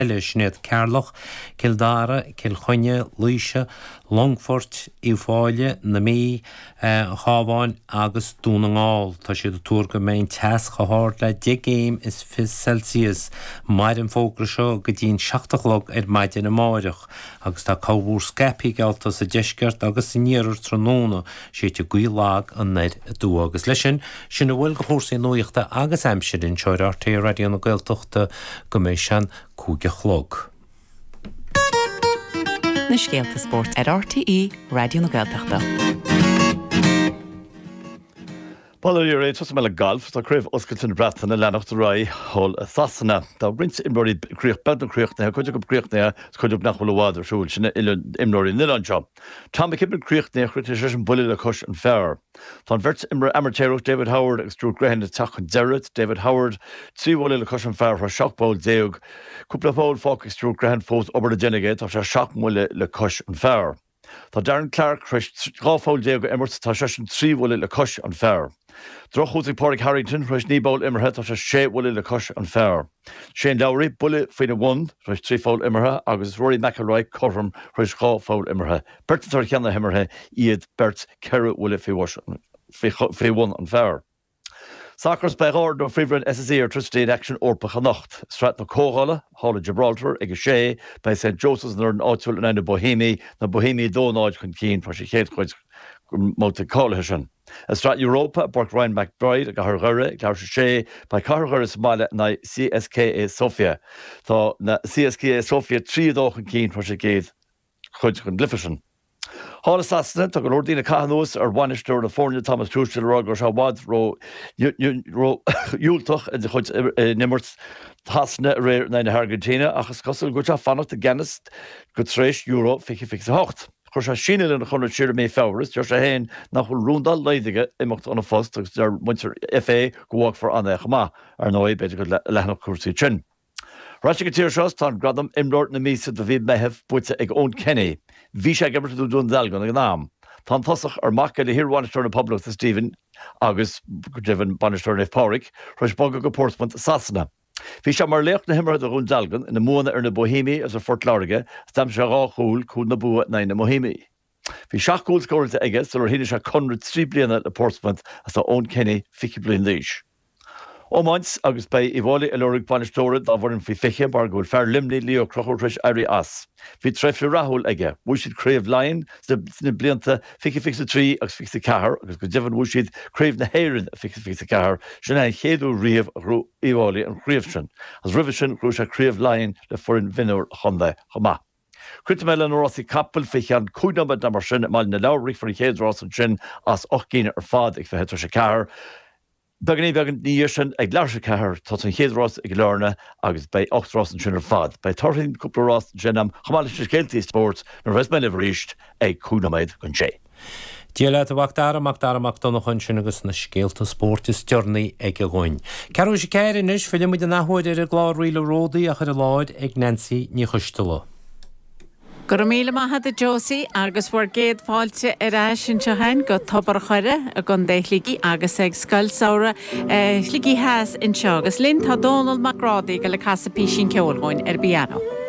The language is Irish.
Eile, sin iad Ceatharlach, Cill Dara, Cill Chainnigh, Laoise, Longfort, Uíbh Fhailí, na Mí, an Chabháin agus Dún na nGall. Tá siad ag tuar go mbeidh an teas chomh hard le 10 gcéim is 20 Celsius. Mairfidh an fógra seo go dtí an 7 a chlog ar maidin amáireach agus tá corrmhúr scaipthe geallta sa deisceart agus san iarthar tráthnóna, séidfidh gaoth lag anoir aduaidh. Agus leis sin, sin a bhfuil de chúrsaí nuachta agus aimsire anseo ar RTÉ Raidió na Gaeltachta go mbeidh sé an 5 a chlog. Na scéalta spóirt ar RTÉ Raidió na Gaeltachta. Bail ó Dhia oraibh, tosóidh mé le galf. Tá Craobh Oscailte na Breataine ag leanacht ar aghaidh thall i Sasana. Tá roinnt imreoirí beagnach críochnaithe, cuid acu críochnaithe agus cuid acu nach bhfuil i bhfad ar siúl. Sin imreoirí an oileáin seo. Tom McKibbin críochnaithe, chríochnaigh seisean buille le cois an phar. Tá an bheirt imreoir amaitéarach David Howard agus Stuart Grehan ag teacht chun deiridh. David Howard, 3 bhuille le cois an phar tar éis 17 poll. Cúpla poll fágtha ag Stuart Grehan fós obair le déanamh aige, tá sé 7 mbuille le cois an phar. Tá Darren Clarke tar éis 12 pholl a imirt, tá seisean 3 bhuille le cois an phar. Drochthús ag Pádraig Harrington, tar éis 9 bpoll imeartha, tá sé 6 bhuille le cois an phar. Shane Lowry, buille faoina bhun, tar éis 3 pholl imeartha agus Rory McIlroy cothrom tar éis 2 pholl imeartha. Beirt atá ar cheann na himeartha, iad beirt 4 bhuille faoi bhun an phar. Sacar, Beidh dhá fhoireann ó Phríomhroinn SSE Airtricity in aicsean Eorpach anocht. I Sraith na Comhdhála, thall i Gibraltar, ag 6, beidh St Joseph's an fhoireann áitiúil in aghaidh na Boihéimí, na Boihéimí 2-0 chun cinn tar éis an chéad chuid den mbabhta cáilithe sin. I Sraith Europa, i bPáirc Ryan McBride i gCathair Dhoire, ag leathuair tar éis a sé, beidh Cathair Dhoire sa mbaile in aghaidh CSKA Sofia. Tá na CSKA Sofia 3-2 chun cinn tar éis an gcéad chuid den gcluiche sin. Thall i Sasana, tá go leor daoine ag caitheamh anuas ar bhainisteoir na foirne Thomas Tuchel ag rá go raibh sé i bhfad ró-dhiúltach ina chuid in imirt Shasana aréir in aghaidh na hAirgintíne ach is cosúil go bhfuil sé ag fanacht i gceannas go tar éis Euro 2028. Chuir sé síneadh lena chonradh siar i mí Feabhra is deir sé féin nach bhfuil rún dá laghad aige imeacht óna phost agus deir muintir FA go bhfágfar ann é chomh maith. Ar ndóigh, b'fhéidir go leathnódh cúrsaí ansin. Ar ais ag an tír seo, tá an gradam Imreoir na Míosa do mhí Meitheamh buaite ag Eoin Kenny. Bhí sé ag imirt do Dún Dealgan ag an am. Tá an tosach, ar mac é le hiar-bhainisteoir na Poblachta Stephen agus, go deimhin, bainisteoir Naomh Pádraig, tar éis bogadh go Portsmouth i Sasana. Bhí sé mar laoch na himeartha do Dhún Dealgan ina mbuanna ar na Boihéimigh agus ar Phort Láirge is d'aimsigh sé 2 chúl, cúl na bua in aghaidh na mBoihéimigh. Bhí 7 gcúl scóráilte aige sular shínigh sé conradh 3 bliana le Portsmouth agus tá Eoin Kenny 20 bliain d'aois. Iomáint agus beidh Uíbh Fhailí ag lorg bainisteora dá bhfoireann faoi 20 mar go bhfuil fear Luimnigh, Leo Ó Conchúir tar éis éirí as. Bhí tréimhse rathúil aige. Bhuaigh siad Craobh Laighean sna blianta 2023 agus 24 agus go deimhin bhuaigh siad Craobh na hÉireann i 2024. Sin é an chéad uair riamh a ghnóthaigh Uíbh Fhailí an chraobh sin. Agus roimhe sin ghnóthaigh sé Craobh Laighean le foireann mhionúir an chontae chomh maith. Críochnóidh mé le na rásaí capall faoi cheann 5 nóiméad nó mar sin i mBaile na Lobhar. Rithfear an chéad rás ansin as 8 gcinn ar fad ag 4:20. Beagáinín beag ina dhiaidh sin ag 3:30 tosaíonn an chéad rás i gCill Airne agus beidh 8 rás ansin ar fad. Beidh torthaí na cúpla rás ansin agam chomh maith leis na scéaltaí spóirt nuair a bheas mé libh arís ag 5 nóiméad don sé. Dia leat a Mhac Dara, Mac Dara Mac Donncha ansin agus na scéalta spóirt is deireanaí aige dhúinn. Ceathrú théis a 4 anois, filleann muid an athuair ar an gclár Ríle Ródaí á chur i láthair ag Neansaí Ní Choisteala. Go raibh míle maith agat a Josie agus bhur gcéad fáilte ar ais anseo againn go Tobar a' Choire i gContae Shligigh agus ag Scoil Samhraidh Shligigh Theas anseo agus linn tá Dónall Mac Grádaigh ag dul ag casadh písín ceoil dhúinn ar an bpianó.